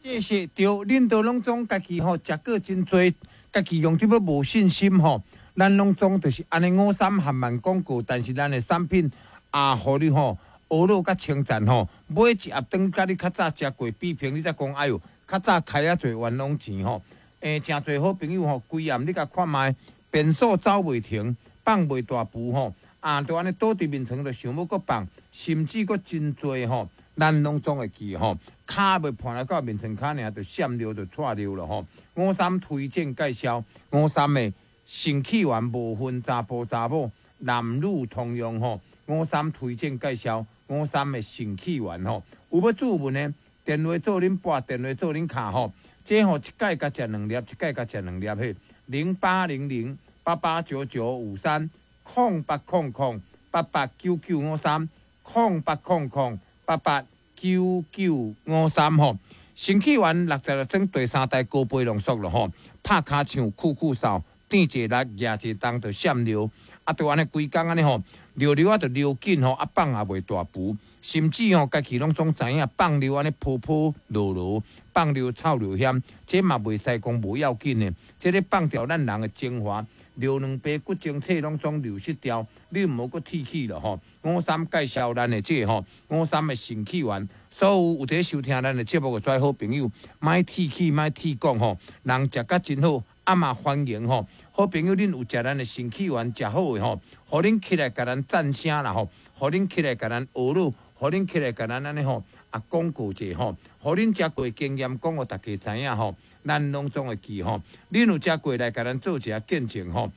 這是對，恁都攏總家己吼食過真濟，家己用得欲無信心吼。咱攏總就是按呢五三含萬廣告，但是咱的產品也予你吼呵咾佮稱讚吼。買一盒轉佮你較早食過比拼，你才講哎喲，較早開遐濟冤枉錢吼。誠濟好朋友吼，規暗你共看覓，便所走袂停，放袂大步吼，啊，就按呢倒佇眠床就想欲閣放，甚至閣真濟吼，咱攏總會記吼，跤袂盤來到眠床跤爾，就閃尿就掣尿了吼。五三推薦介紹，五三的腎氣丸無分查埔查某，男女通用吼。五三推薦介紹，五三的腎氣丸吼，有欲注文的，電話做恁撥，電話做恁敲吼。這吼一擺共食兩粒，一擺共食兩粒嘿，0800889953，0800889953，0800889953吼。腎氣丸66裝第三代高倍濃縮咯吼，拍跤唱酷酷掃，轉一力，舉一重就閃尿，啊，就按呢規工按呢吼，尿尿啊就尿緊吼，啊放也袂大浮，甚至吼家己攏總知影放尿按呢泡泡落落，放尿臭尿薟，這嘛袂使講無要緊的，這咧放掉咱人的精華，尿卵白骨精髓攏總流失掉，你毋好閣提起了吼。五三介紹咱的這個吼，五三的腎氣丸，所有有佇收聽咱的節目的遮好朋友，莫提起，莫提講吼，人食甲真好，啊嘛歡迎吼。好朋友，恁有食咱的腎氣丸食好的吼，予恁起來共咱讚聲啦吼，予恁起來共咱呵咾，予恁起來共咱按呢吼，啊廣告者吼，予恁食過經驗講予大家知影吼，咱攏總會記吼。恁有食過來共咱做一下見證吼。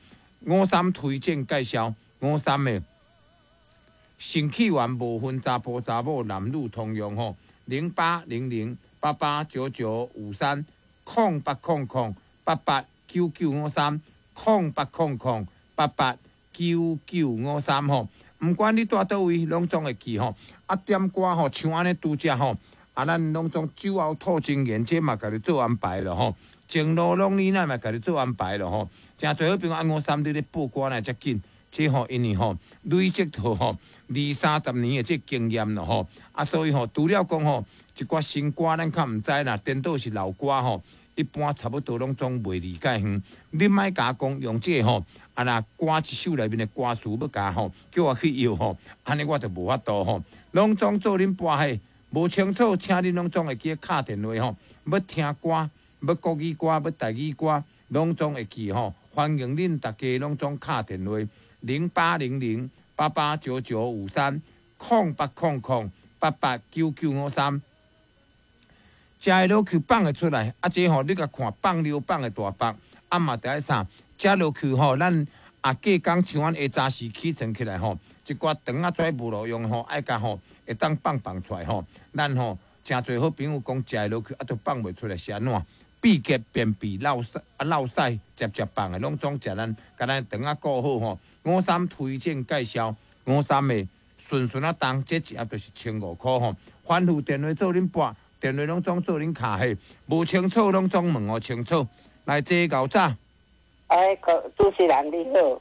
五三推薦介紹，五三的腎氣丸無分查埔查某，男女通用吼。0800889953，0800889953。0800889953吼，毋管你蹛佗位，攏總會記吼。啊，點歌吼，像按呢拄才吼，啊，咱攏總酒後吐真言，這嘛共你做安排了吼。前路攏你咱嘛共你做安排了吼。誠濟好朋友按五三你咧報歌來遮緊，這吼因為吼累積到吼二三十年的這經驗了吼。啊，所以吼除了講吼一寡新歌咱較毋知啦，顛倒是老歌吼。一般差不多攏總袂離介遠，你莫共我講用這個吼，啊若歌一首內面的歌詞欲共吼，叫我去搖吼，按呢我就無法度吼。攏總做恁播彼，無清楚，請恁攏總會記敲電話吼，欲聽歌，欲國語歌，欲台語歌，攏總會記吼。歡迎恁大家攏總敲電話，0800889953，0800889953。食會落去放會出來，啊，這吼你共看放尿放會大腹，啊嘛著愛啥？食落去吼，咱啊隔工像阮下早時起床起來吼，一寡腸仔跩無路用吼，愛共吼會當放放出來吼。咱吼誠濟好朋友講食會落去啊，都放袂出來是按怎？秘結便秘、落屎啊、落屎，捷捷放的攏總食咱，共咱腸仔顧好吼。五三推薦介紹，五三的順順仔重，這一盒就是1500箍吼。反覆電話做恁撥。電話攏總做恁敲彼，無清楚攏總問予清楚。來，這𠢕早。哎，主持人你好，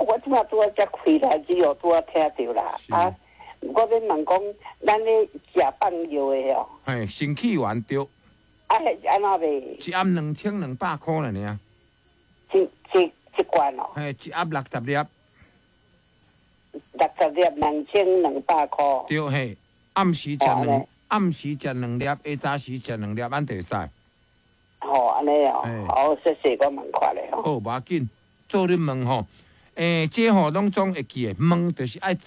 我這馬拄仔才開台機哦，拄仔聽著啦。啊，我欲問講，咱咧食放藥的哦。嘿，腎氣丸對。啊，彼是按怎賣？一盒2200箍爾爾。一一一罐哦。嘿，一盒60粒。60粒2200箍。對嘿，暗時食兩。暗時食兩粒，下早時食兩粒，按就會使。吼，按呢哦，好，謝謝我問看咧吼。好，無要緊，做恁問吼。這吼攏總會記的，問就是愛知，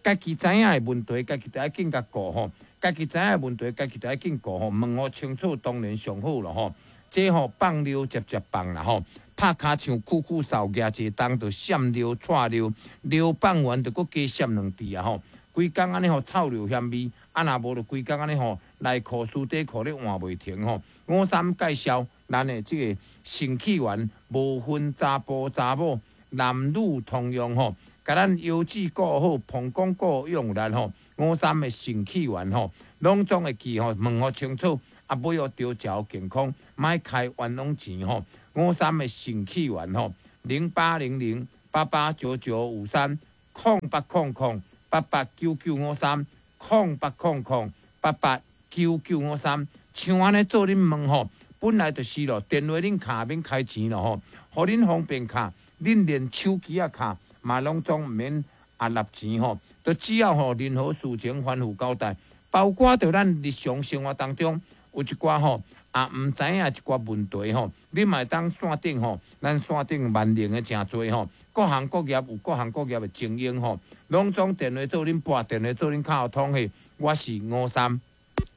家己知影的問題，家己就愛緊共顧吼。家己知影的問題，家己就愛緊顧吼。問予清楚，當然上好咯吼。這吼放尿捷捷放啦吼，拍跤唱酷酷掃，舉一重就閃尿掣尿，尿放完就閣加閃兩滴啊吼。規工按呢吼臭尿薟味，啊若無就規工按呢吼內褲絲底褲咧換袂停吼。五三介紹咱的這個腎氣丸，無分查埔查某，男女通用吼，共咱腰子顧好，膀胱顧用力吼。五三的腎氣丸吼，攏總會記吼，問予清楚，啊買予著食予健康，莫開冤枉錢吼。五三的腎氣丸吼，0800889953，0800889953，0800889953。像按呢做恁問吼，本來就是咯，電話恁敲免開錢咯吼，予恁方便敲，恁連手機仔敲嘛攏總毋免啊納錢吼，都只要吼任何事情吩咐交代，包括著咱日常生活當中有一寡吼啊毋知影一寡問題吼，你嘛會當線頂吼，咱線頂萬能的誠濟吼，各行各業有各行各業的精英吼，攏總電話做恁撥，電話做恁較有通的，我是吳三，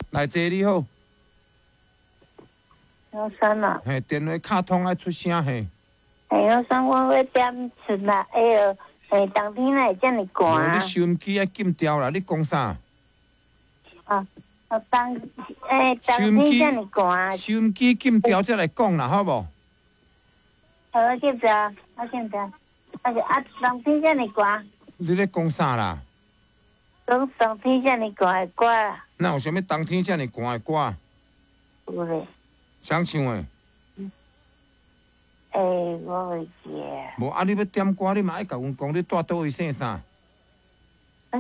來坐你好。吳三啊，嘿，電話敲通愛出聲嘿。嘿，吳三，我欲點出來，哎喲，嘿，冬天哪會遮爾寒？你收音機愛禁掉啦！你講啥？啊，冬，欸，冬天遮爾寒。收音機禁掉才來講啦，好無？好，禁掉，我禁掉。啊是啊，冬天遮爾寒。你咧講啥啦？講冬天遮爾寒的歌啦。哪有啥物冬天遮爾寒的歌？有咧。啥唱的？欸，我袂記得。無啊！你欲點歌，你嘛愛共阮講，你蹛佗位姓啥？我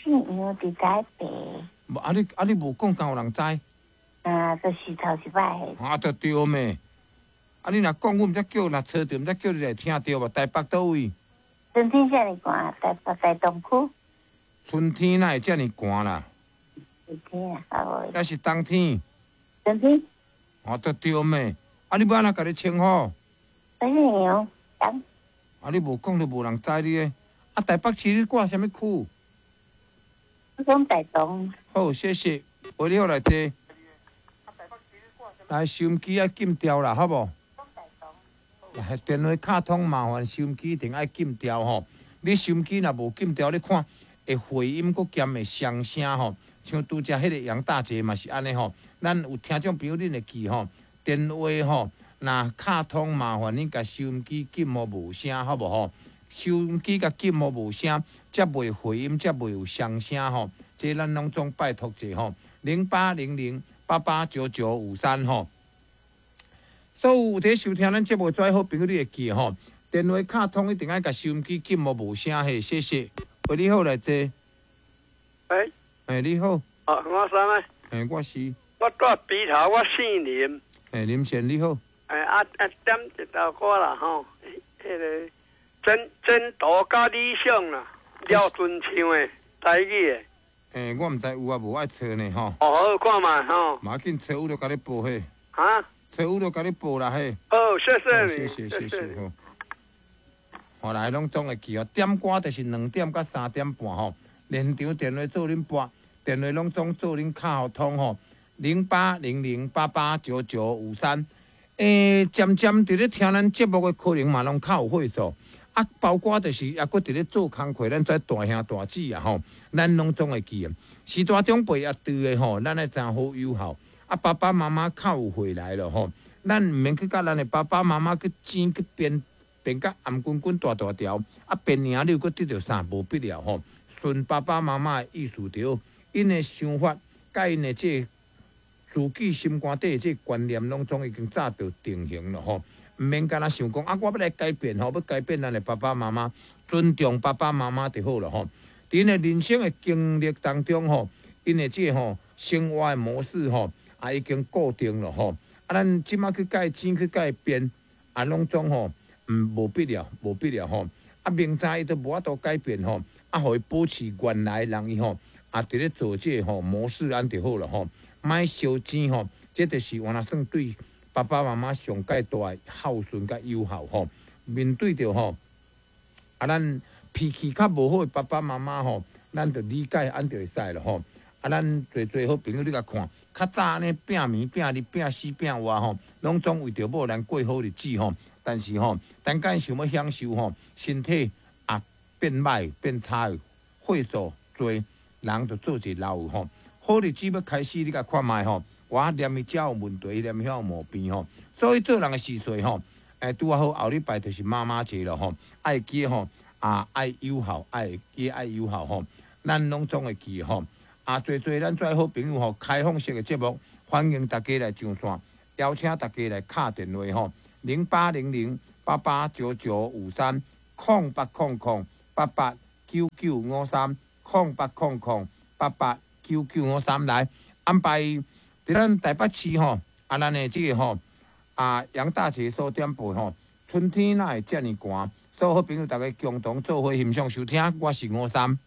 姓楊，佇台北。無啊！你啊！你無講，敢有人知？啊，就是頭一擺。啊，就對咩？啊，你若講，阮毋才叫，若揣著，毋才叫你來聽著無？台北佗位？春天遮爾寒，台北台東區。春天哪會遮爾寒啦？春天啊，抑是冬天？春天。哦，就對咩？啊，你欲按怎共你稱呼？我姓楊，楊。啊，你無講就無人知你的。啊，台北市你掛啥物區？我講台東。好，謝謝。喂，你好，來坐。來，收音機愛禁掉啦，好無？來，電話敲通麻煩收音機一定愛禁掉吼。你收音機若無禁掉，你看會回音，閣兼會雙聲吼。像拄才彼個楊大姐嘛是按呢吼。咱有聽眾朋友，恁會記吼，電話吼，若敲通麻煩恁共收音機禁予無聲，好無吼？收音機共禁予無聲，才袂回音，才袂有雙聲吼。這咱攏總拜託者吼，0800889953吼。所有有佇收聽咱節目的好朋友，你會記吼，電話敲通一定愛共收音機禁予無聲嘿，謝謝。喂，你好，來坐。喂。欸，你好。哦，我啥物？欸，我是。我蹛埤頭，我姓林。欸，林先你好。欸啊啊，點一首歌啦吼，彼個前途佮理想啦，廖敦唱的台語的。欸，我毋知有啊無愛揣呢吼。哦，好看覓吼。無要緊，揣有就共你報嘿。啊？揣有就共你報啦嘿。好，謝謝你。謝謝謝謝好。後來攏總會記哦，點歌就是2點到3點半吼，現場電話做恁撥，電話攏總做恁敲通吼。0800889953，欸，漸漸佇咧聽咱節目的可能嘛攏較有歲數，啊，包括就是猶閣佇咧做工課，咱這大兄大姊啊吼，咱攏總會記得。序大長輩也對的吼，咱愛怎好友好，啊，爸爸媽媽較有歲來了吼，咱毋免去佮咱的爸爸媽媽去爭去辯，辯甲頷頸頸大大條，啊，辯贏你又閣得著啥？無必要吼。順爸爸媽媽的意思著，𪜶的想法，佮𪜶的這個自己心肝底這個觀念，攏總已經早就定型了吼，毋免干焦想講啊，我欲來改變吼，欲改變咱的爸爸媽媽，尊重爸爸媽媽就好了吼。佇𪜶的人生的經歷當中吼，𪜶的這個吼生活的模式吼，也已經固定了吼。啊，咱這馬去共伊爭去共伊辯，啊，攏總吼，無必要，無必要吼。啊，明知伊都無法度改變吼，啊，予伊保持原來人伊吼，啊，佇咧做這個吼模式按就好了吼。莫相爭吼，這就是原來算對爸爸媽媽上蓋大的孝順佮友好吼。面對著吼，啊，咱脾氣較無好的爸爸媽媽吼，咱就理解按就會使了吼。啊，咱濟濟好朋友你共看，較早按呢拚暝拚日拚死拚活吼，攏總為著某人過好日子吼。但是吼，等間想欲享受吼，身體也變歹變差的，歲數濟，人就做一個老吼。好日子欲開始，你共看覓吼，我連伊遮有問題，連伊遐有毛病吼，所以做人的時勢吼，欸，拄仔好後禮拜就是媽媽節了吼，愛記吼，啊愛友好，愛記愛友好吼，咱攏總會記吼，啊濟濟咱遮好朋友吼，開放式的節目，歡迎大家來上線，邀請大家來敲電話吼，0800889953，0800889953，0800889953來安排佇咱台北市吼，啊，咱的這個吼，啊，楊大姐所點播吼，春天哪會遮爾寒？所有好朋友，逐家共同做伙欣賞收聽，我是吳三。